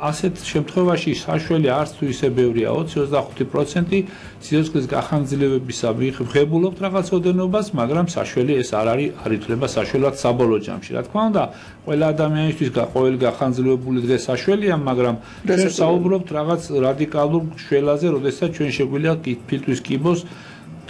ასეთ შემთხვევაში საშველი არც თუ ისე ბევრია 20-25% სიცოცხლის გახანგრძლივებისა ვიღებულობთ რაღაც ოდენობას, მაგრამ საშველი ეს არ ითვლება საშველად საბოლოო ჯამში. Რა თქმა უნდა, ყველა ადამიანისთვის ყოველი გახანგრძლივებული დღე საშველია, მაგრამ ჩვენ საუბრობთ რაღაც რადიკალურ შველაზე, როდესაც ჩვენ შეგვიძლია ფილტვის კიბოს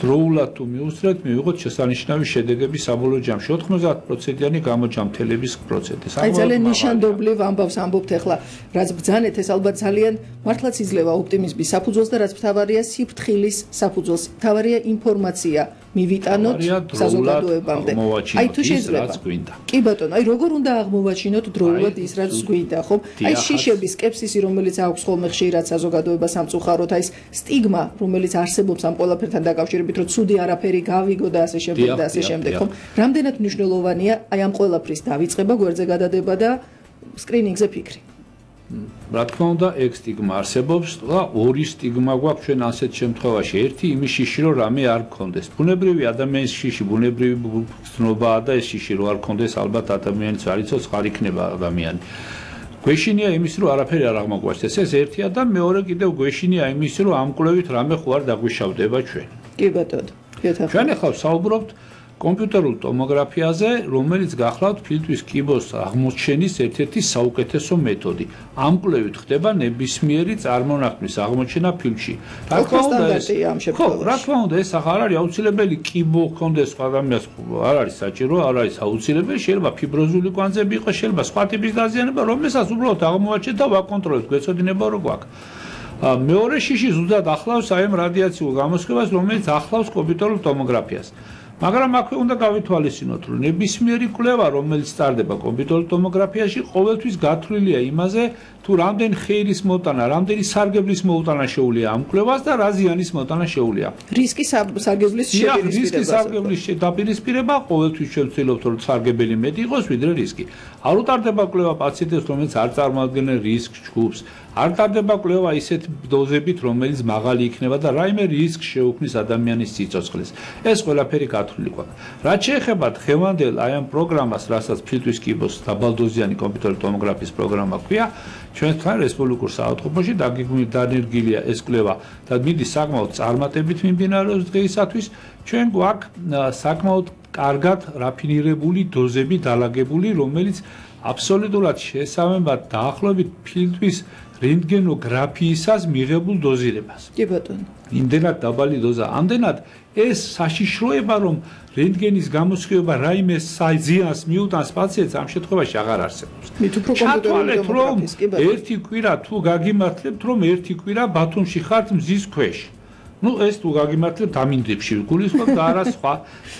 დროულად თუ მიუსწრეთ, მივიღოთ შესანიშნავი შედეგები საბოლოო ჯამში. 90%-იანი გამოჯამთელების პროცენტი. აი ძალიან ნიშანდობლივ ამბავს ამბობთ ახლა, რაც ბრძანეთ, ეს ალბათ ძალიან მართლაც იძლევა ოპტიმიზმის საფუძველს და რაც მთავარია სიფრთხილის საფუძველს. მთავარია ინფორმაცია მივიტანოთ საზოგადოებამდე. აი თუ შეიძლება. კი ბატონო, აი როგორ უნდა აღმოვაჩინოთ დროულად ის რაც გვინდა, ხო? აი შიშები, სკეპსისი, რომელიც აქვს ხოლმე ხშირად საზოგადოებას სამწუხაროდ, აი ეს სტიგმა, რომელიც არსებობს ამ ყველაფერთან დაკავშირებით, რომ ცუდი არაფერი გავიგო და ასე შემდეგ და ასე შემდეგ, ხო? რამდენად მნიშვნელოვანია აი ამ ყველაფრის დავიწყება, გვერდზე გადადება და სკრინინგზე ფიქრი. რა თქმა უნდა, ეგ სტიგმა არსებობს და ორი სტიგმა გვაქვს ჩვენ ასეთ შემთხვევაში. ერთი იმის შიში, რომ რამე არ გქონდეს. ბუნებრივი ადამიანის შიში, ბუნებრივი ცნობაა და ეს შიში რო არ გქონდეს, ალბათ ადამიანიც არ იცოცხ, არ იქნება ადამიანი. გვეშინია იმის, რომ არაფერი არ აღმოგვაჩნდეს. ეს ერთია და მეორე კიდევ გვეშინია იმის, რომ ამ კვლევით რამე ხო არ დაგვიშავდება ჩვენ. კი ბატონო. ჩვენ ახლა საუბრობთ კომპიუტერულ ტომოგრაფიაზე, რომელიც გახლავთ ფილტვის კიბოს აღმოჩენის ერთ-ერთი საუკეთესო მეთოდი. ამ კვლევით ხდება ნებისმიერი წარმონაქმნის აღმოჩენა ფილტვში. რა თქმა უნდა, ეს არ არის აუცილებელი კიბო ჰქონდეს სხვა ადამიანს, არ არის საჭირო, არ არის აუცილებელი, შეიძლება ფიბროზული კვანძები იყოს, შეიძლება სხვა ტიპის დაზიანება, რომელსაც უბრალოდ აღმოვაჩენთ და ვაკონტროლებთ, გვეცოდინება რო გვაქვს. მეორე შიში ზუსტად ახლავს აი ამ რადიაციულ გამოსხივებას, რომელიც ახლავს კომპიუტერულ ტომოგრაფიას. მაგრამ აქვე უნდა გავითვალისწინოთ, რომ ნებისმიერი კვლევა, რომელიც სტარდება კომპიუტერულ ტომოგრაფიაში, ყოველთვის გათვლილია იმაზე, თუ რამდენი ხეილის მოტანა, რამდენი სარგებლის მოტანა შეუძლია ამ კვლევას და რა ზიანის მოტანა შეუძლია. რისკის სარგებლის დაპირისპირება ყოველთვის შევცდილობთ, რომ სარგებელი მეტი იყოს, ვიდრე რისკი. არ უტარდება კვლევა პაციენტებს, რომელიც არ წარმოადგენენ რისკ ჯგუფს. არ ტარდება კვლევა ისეთ დოზებით, რომელიც მაღალი იქნება და რაიმე რისკს შეუქმნის ადამიანის სიცოცხლეს. ეს ყველაფერი გათვლილი გვაქვს. რაც შეეხება დღევანდელ აი ამ პროგრამას, რასაც ფილტვის კიბოს დაბალდოზიანი კომპიუტერული ტომოგრაფიის პროგრამა ქვია, ჩვენთან რესპუბლიკურ საავადმყოფოში დანერგილია ეს კვლევა და მიდის საკმაოდ წარმატებით მიმდინარეობს დღეისათვის. ჩვენ გვაქვს საკმაოდ კარგად რაფინირებული დოზები დალაგებული, რომელიც აბსოლუტურად შესაბამისად დაახლოებით ფილტვის რენტგენოგრაფიისას მიღებულ დოზირებას. კი ბატონო. იმდენად დაბალი დოზა, ამდენად ეს საშიშროება, რომ რენტგენის გამოსხივება რაიმე ზიანს მიუტანს პაციენტს, ამ შემთხვევაში აღარ არსებობს. ჩათვალეთ, რომ ერთი კვირა თუ გაგიმართლებთ, რომ ერთი კვირა ბათუმში ხართ მზის ქვეშ. ეს თუ გაგიმართლებთ ამინდებში გულისხმობ და არა სხვა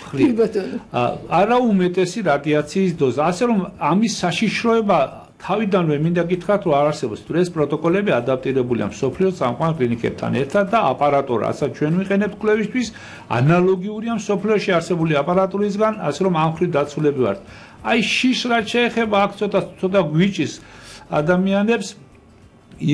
მხრივ. არა უმეტესი რადიაციის დოზა, ასე რომ ამის საშიშროება თავიდანვე მინდა გითხრათ, რომ არ არსებობს. ეს პროტოკოლები ადაპტირებულია მსოფლიოს სამყარო კლინიკებთან ერთად და აპარატურა, რასაც ჩვენ ვიყენებთ კვლევისთვის, ანალოგიურია მსოფლიოში არსებული აპარატურისგან, ასე რომ ამ მხრივ დაცულები ვართ. აი შიშს რაც შეეხება, აქ ცოტა გვიჭის ადამიანებს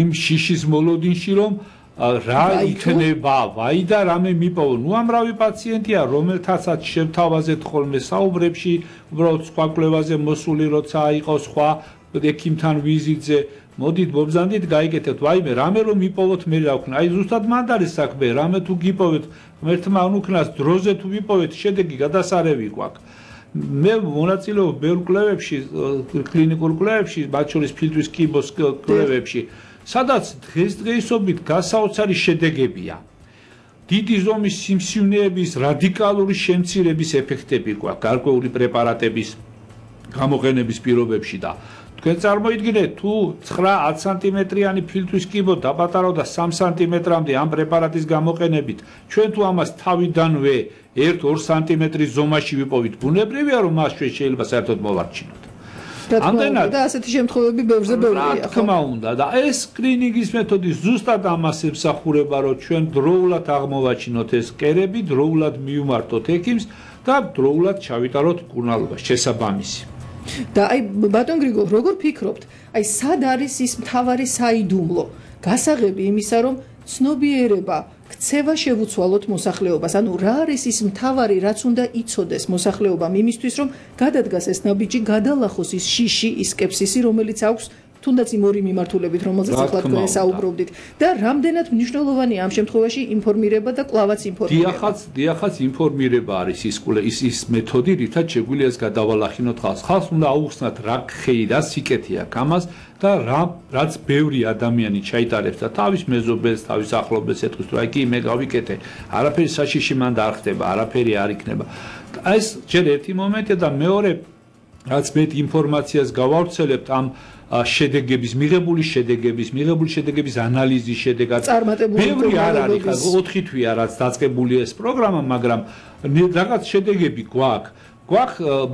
იმ შიშის მოლოდინში, რომ რა იქნება, ვაი და რამე მიპოვო. ამრავი პაციენტია, რომელთაცაც შევთავაზეთ ხოლმე საუბრებში, უბრალოდ სხვა კვლევაზე მოსული როცა იყო სხვა ექიმთან ვიზიტზე, მოდით მობზანდით გაიგეთებთ, ვაიმე, რამე რომ მიპოვოთ მე რა ვქნა. აი ზუსტად მანდ არის საქმე, რამე თუ გიპოვეთ, ღმერთმა უნუქნას დროზე თუ ვიპოვეთ, შედეგი გადასარევი გვაქვს. მე მონაწილეობ ბევრ კვლევებში, კლინიკურ კვლევებში, მათ შორის ფილტვის კიბოს კვლევებში, სადაც დღესდღეობით გასაოცარი შედეგებია. დიდი ზომის სიმსივნეების რადიკალური შემცირების ეფექტები გვაქვს გარკვეული პრეპარატების გამოყენების პირობებში და თქვენ წარმოიდგინეთ, თუ 9-10 სანტიმეტრიანი ფილტვის კიბო დაპატარავდა 3 სანტიმეტრამდე ამ პრეპარატის გამოყენებით, ჩვენ თუ ამას თავიდანვე 1-2 სანტიმეტრის ზომაში ვიპოვით, ბუნებრივია, რომ მას შეიძლება საერთოდ მოვარჩინოთ. ამდენად და ასეთი შემთხვევები ბევრზე ბევრია. რა თქმა უნდა და ეს სკრინინგის მეთოდი ზუსტად ამას ემსახურება, რომ ჩვენ დროულად აღმოვაჩინოთ ეს კერები, დროულად მივმართოთ ექიმს და დროულად ჩავიტაროთ მკურნალობა შესაბამისი. და აი ბატონ გრიგოლ, როგორ ფიქრობთ, აი სად არის ის მთავარი საიდუმლო გასაღები იმისა, რომ ცნობიერება ქცევა შევუცვალოთ მოსახლეობას. ანუ რა არის ის მთავარი, რაც უნდა იცოდეს მოსახლეობამ იმისთვის, რომ გადადგას ეს ნაბიჯი, გადალახოს ის შიში, ის სკეპსისი, რომელიც აქვს თუნდაც იმ ორი მიმართულებით, რომელზეც ახლა თქვენ საუბრობდით და რამდენად მნიშვნელოვანია ამ შემთხვევაში ინფორმირება და კლავაც ინფორმირება. დიახაც ინფორმირება არის ის მეთოდი, რითაც შეგვიძლია ეს გადავალახინოთ ხალხს. ხალხს უნდა აუხსნათ რა ხეი და სიკეთე აქვს ამას და რაც ბევრი ადამიანი ჩაიტარებს და თავის მეზობელს, თავის ახლობელს ეთქვის, რომ აი კი მე გავიკეთე, არაფერი საშიში მან არ ხდება, არაფერი არ იქნება. ეს ჯერ ერთი მომენტია და მეორე რაც მე ინფორმაციას გავავრცელებთ ამ მიღებული შედეგების ანალიზის შედეგად ბევრი არ არის ხა 4 თვეა რაც დაწყებულია ეს პროგრამა, მაგრამ რაღაც შედეგები გვაქვს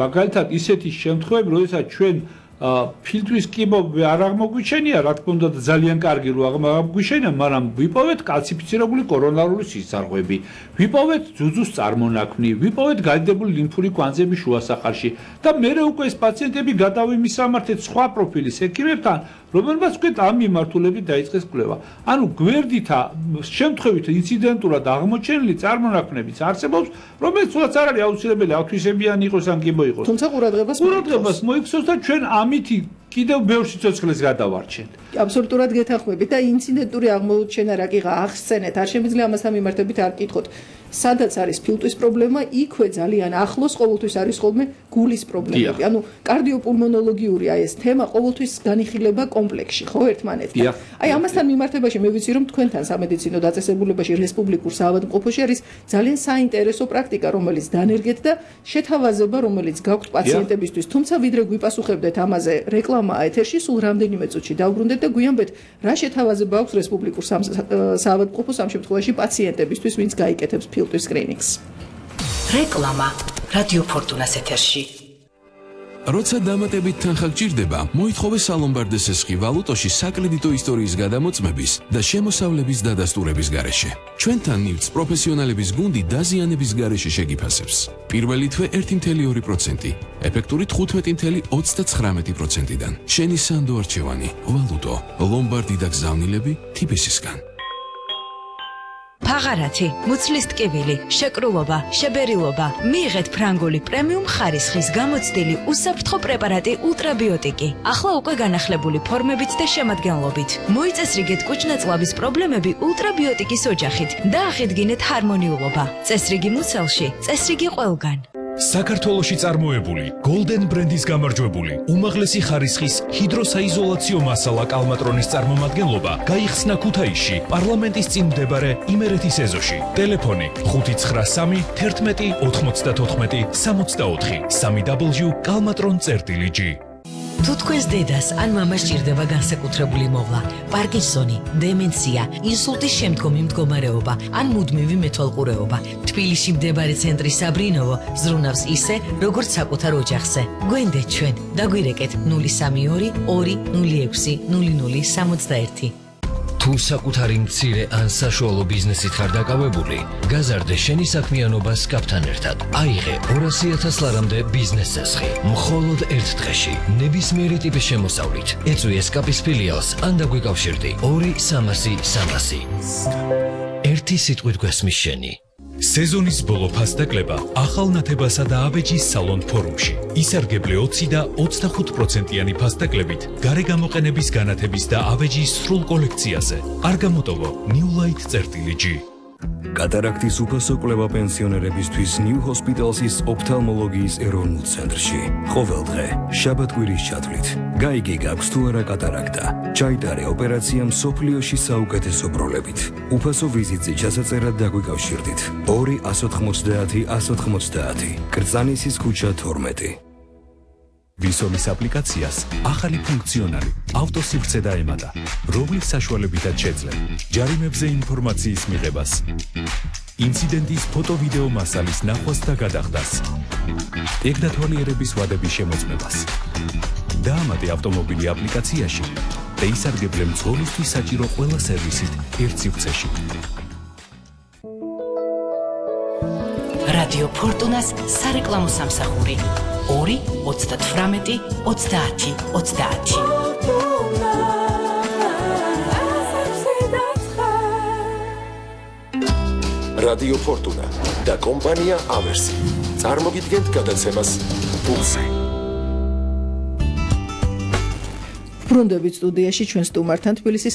მაგალითად ისეთი შემთხვევები, როდესაც ჩვენ ფილტვის კიბო არ აღმოგვიჩენია, რა თქმა უნდა ძალიან კარგი რო აღმოგვიჩენია, მაგრამ ვიპოვეთ კალციფიცირებული კორონარული სისხლძარღვები, ვიპოვეთ ძუძუს წარმონაქმნი, ვიპოვეთ გადიდებული ლიმფური კვანძები შუა სახარში და მერე უკვე ეს პაციენტები გადავიმისამართეთ სხვა პროფილის ექიმებთან, რომელმაც უკვე ამ მიმართულებით დაიწყეს კვლევა. ანუ გვერდითა შემთხვევით ინციდენტურად აღმოჩენილი წარმონაქმნებიც არსებობს, რომელიც თუნდაც არ არის აუცილებელი ავთვისებიანი იყოს ან კიბო იყოს. თუმცა ყურადღებას მოიქცევს და ჩვენ ამითი კიდევ ბევრ სიცოცხლეს გადავარჩენთ. აბსოლუტურად გეთანხმებით და ინციდენტური აღმოჩენა რა კიღა ახსენეთ, არ შემიძლია ამასთან მიმართებით არ კითხოთ. სადაც არის ფილტვის პრობლემა, იქვე ძალიან ახლოს ყოველთვის არის ხოლმე გულის პრობლემები. ანუ კარდიოპულმონოლოგიური ეს თემა ყოველთვის განიხილება კომპლექსში, ხო, ერთმანეთთან. აი ამასთან მიმართებაში მე ვიცი რომ თქვენთან სამედიცინო დაწესებულებაში რესპუბლიკურ საავადმყოფოში არის ძალიან საინტერესო პრაქტიკა, რომელიც დანერგეთ და შეთავაზება, რომელიც გაქვთ პაციენტებისთვის. თუმცა ვიდრე გვიპასუხებდეთ ამაზე რეკლამაა ეთერში, სულ რამდენიმე წუთში დავბრუნდეთ და გვიანბეთ რა შეთავაზება აქვს რესპუბლიკურ საავადმყოფოს ამ შემთხვევაში პაციენტებისთვის, ვინც გაიკეთებს ფილტვის სკრინინგს. რეკლამა რადიო ფორტუნას ეთერში. როცა დამატებით თანხა გჭირდება, მოითხოვე სალომბარდეს ესხი ვალუტოში საკრედიტო ისტორიის გადამოწმების და შემოსავლების დადასტურების გარეშე. ჩვენთან ნივთს პროფესიონალების გუნდი დაზიანების გარეშე შეგიფასებს. პირველი თვე 1.2%, ეფექტური 15.39%-დან. შენი სანდო არჩევანი, ვალუტო, ლომბარდი და გზავნილები TBS-ისგან. ფაღარათი, მუცლის ტკივილი, შეკრულობა, შებერილობა. მიიღეთ ფრანგული პრემიუმ ხარისხის გამოცდილი უსაფრთხო პრეპარატი ულტრაბიოტიკი. ახლა უკვე განახლებული ფორმებით და შემადგენლობით. მოიწესრიგეთ კუჭ-ნაწლავის პრობლემები ულტრაბიოტიკის ოჯახით და აღიდგინეთ ჰარმონიულობა. წესრიგი მუცელში, წესრიგი ყველგან. საქართველოში წარმოებული Golden ბრენდის გამარჯვებული უმაღლესი ხარისხის ჰიდროსაიზოლაციო მასალა კალმატრონის წარმომადგენლობა გაიხსნა ქუთაისში პარლამენტის წინ მდებარე იმერეთის ეზოში. ტელეფონი 593 11 94 64 www.kalmatron.gr. თუ თქვენს დედას ან მამას ჭირდება განსაკუთრებული მოვლა, პარკინსონი, დემენცია, ინსულტის შემდგომი მდგომარეობა ან მუდმივი მეთვალყურეობა, თბილისში მდებარე ცენტრი საბრინოვო ზრუნავს ისე, როგორც საკუთარ ოჯახზე. გვენდეთ ჩვენ, დაგვირეკეთ 032 206 0061. თუ საკუთარი მცირე ან საშუალო ბიზნესით ხარ დაკავებული, გაზარდე შენი საქმიანობა SCAP-თან ერთად. აიღე 200,000 ლარამდე ბიზნეს წესხი. მხოლოდ ერთ დღეში, ნებისმიერი ტიპის შემოსავლით. ეწვი SCAP-ის ფილიალს ან დაგვიკავშირდი 2-300-300. ერთი სიტყვით გვესმის შენი. სეზონის ბოლო ფასდაკლება ახალ ნათებასა და აბეჯის სალონ ფორუმში. ისარგებლე 20 და 25%-იანი ფასდაკლებით გარე გამოყენების განათების და აბეჯის სრულ კოლექციაზე. არ გამოტოვო newlight.g. კატარაქტის უფასო კვლევა პენსიონერებისთვის New Hospital's ოფთალმოლოგიის ეროვნულ ცენტრში. ყოველდღე, შაბათ-კვირის ჩათვლით. გაიგე გაქვს თუ არა კატარაქტა. ჩაიტარე ოპერაცია მსოფლიოში საუკეთესო პროლებით. უფასო ვიზიტზე ჩასაწერად დაგვიკავშირდით. 2-190 190. კრწანისის ქუჩა 12. ვისოლის აპლიკაციას ახალი ფუნქციონალი ავტოსივრცე დაემატა, რომლის საშუალებითაც შეძლებ ჯარიმებზე ინფორმაციის მიღებას, ინციდენტის ფოტო-ვიდეო მასალის ნახვას და გადახდას, ეგდათვალიერების ვადების შემოწმებას. დაამატე ავტომობილი აპლიკაციაში და ისარგებლე მძღოლისთვის საჭირო ყველა სერვისით ერთ სივრცეში. რადიო ფორტუნას სარეკლამო სამსახური 2-38-30-30. რადიო ფორტუნა და კომპანია ავერსი წარმოგიდგენთ გადაცემას პულსი. ბრუნდებით სტუდიაში ჩვენ სტუმართან თბილისის